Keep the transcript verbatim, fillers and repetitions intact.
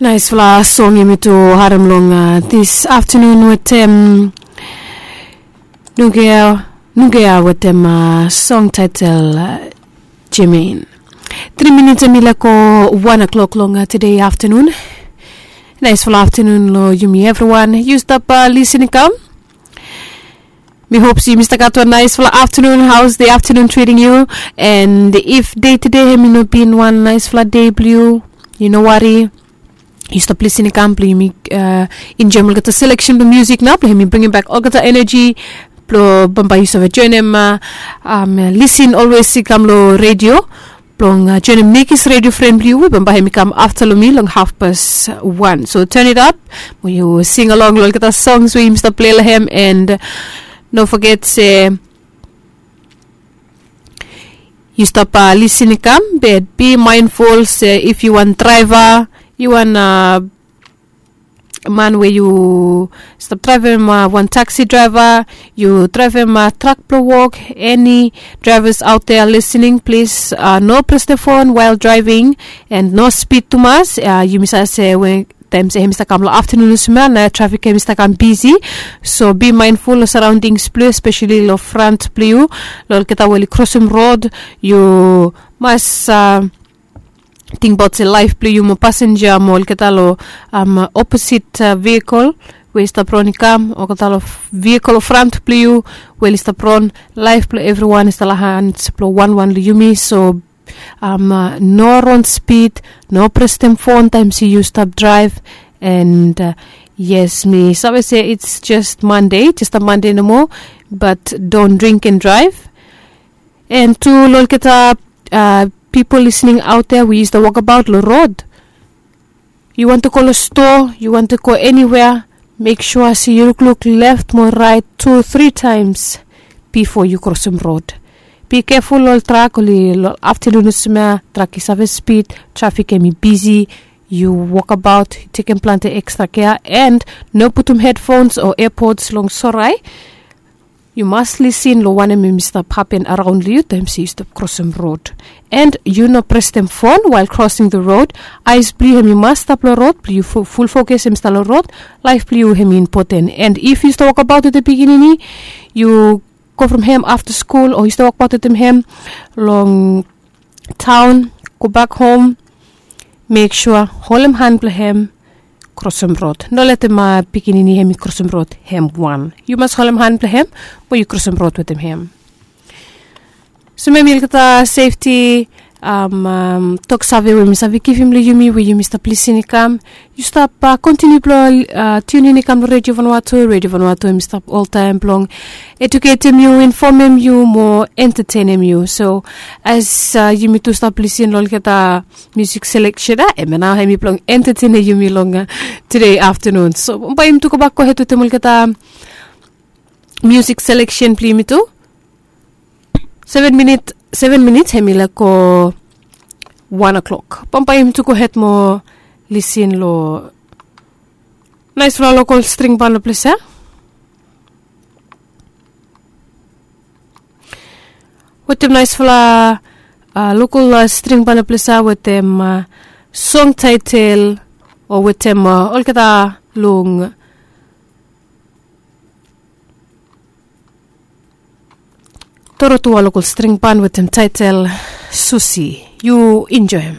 Naisfala song yumi tu harem long dis aftanun wetem nugea nugea wetem song taitel Jemain. Tri minits em i lako wan o'klok long tude aftanun. Naisfala aftanun long yumi evriwan yu stap lisin i kam. Mi hop se yumi stap gat wan naisfala aftanun. Haus de aftanun triting yu? And if dei tude hem i no bin wan naisfala dei blong yu, yu no wari. Yu stap lisin i kam blong yumi enjoem olgeta seleksen blong musik nao blong hem i bringim bak olgeta eneji blong bambae yu save joenem. Lisin olwes i kam long redio blong joenem nekis redio fren blong yu we bambae hem i kam afta long mi long hafpas wan. So ten it ap mo yu sing along long olgeta songs we yumi stap plei long hem. And no foget se yu stap lisin i kam, be bi maenful se if yu wan draeva, yu wan man we yu stap draevem wan taksi draeva, yu draevem trak blong wok, eni draevas aot dea lisining plis, no pres de fon wael draeving. And no spid tumas. Yumi save se we taem se hem i stap kam long aftanun olsem ya na trafik hem i stap kam bisi. So bi maenful long saraondings blong yu espesali long frant blong yu, long olgeta we oli krosem rod. Yu mas tingbaot se laef blong yu mo pasenja mo olgeta long oposit vehikel we i stap ron i kam, olgeta long vehikel long frant blong yu we oli stap ron. Laef blong evriwan i stap long hans blong wanwan long yumi. So no ron spid, no prestem fon taem se yu stap draev. And yes, mi save se it's just Mande, just a Mande nomo. But don't drink and drive. And tu long olgeta pipol lisining aot dea we yu stap wokabaot long rod, yu wantem go long stoa, yu wantem go eniwea, mek sua se yu lukluk left mo raet tu tri taems bifo yu krosem rod. Bi keful ol trak oli long aftanun olsem ya trak i save spid, trafik hem i bisi, yu wokabaot, tekem plante ekstra kea and no putum hedfons o eapods long sorae. Yu mas lisin long wanem hem i stap hapen araon long yu taem se yu stap krosem rod. And yu no prestem fon wael krosing the rod. Aes blong yu hem i mas stap long rod blong yu ful fokas hem i stap long rod. Laef blong yu hem i impoten. And if yu stap wokabaot wetem pikinini, yu go from hem afta skul o yu stap wokabaot wetem hem long taon, gobak hom, mek sua holem han blong hem, krosem rod. No letem pikinini hem i krosem rod hem wan. Yu mas holem han blong hem mo yu krosem rod wetem hem. So memi olgeta sefti toksave we mi save givim long yumi we yumi stap lisin i kam, yu stap kontiniu blong tiunin i kam long redio vanua tu. Redio vanua tu hem i stap oltaem blong eduketem yu, infomem yu mo entetenem yu. So as yumi tu stap lisin long olgeta musik seleksen ya, hemia nao hem i blong entetenem yumi long tude aftanun. So bae yumi tu gobak gohed wetem olgeta musik seleksen blong yumi tu. Seven minit seven minit hem i laek go wan o'klok. Bambae yumi tu gohed mo lisin long naesfala lokol string ban long ples ya. Wetem naesfala lokol string ban long ples ya wetem song taetel o wetem olgeta long torotua lokol string ban wetem taetel Susi. Yu enjoem.